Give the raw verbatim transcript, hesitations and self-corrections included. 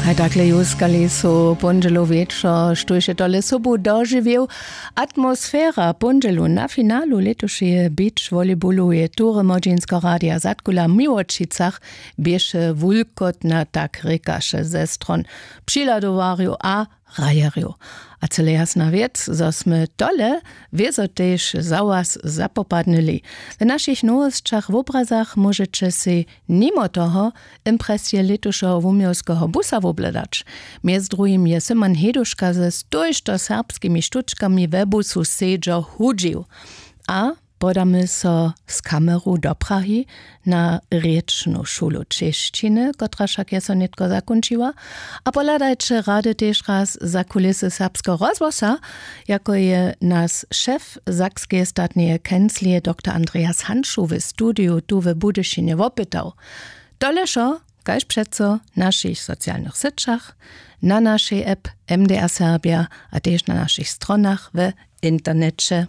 Haj takle juskali su póndźelu wječor, štóž je tole sobu dožiwił. Atmosfera póndźelu na finalu lětušeje beach volleyballu je tury młodźinsko radia zadkula w miłočicach běše wulkotna, tak rěkaše ze stron přihladowarjow a hrajerjow. A cyle jasna wěc, zo smy tole wězo tež za was zapopadnyli. W našich nowosćach w obrazach móžeće sej nimo toho impresije lětušeho wuměłskeho busa wobhledać. Mjez druhim je syman heduška ze stójšto serbskimi štučkami we busu sedźo hudźił. A podamy so z kameru do prahi na rěčnu šulu češćiny, kotraž wšak je so nětko zakónčiła. A pohladajće rady tež raz za kulisy serbskeho rozhłosa, jako je nas šef sakskeje statneje kenclije doktor andreas hanšu w studiju tu w budyšinje wopytał. Tole wšo kaž přeco w našich socialnych syćach, na našej app mdr serbja a tež na našich stronach w interneće.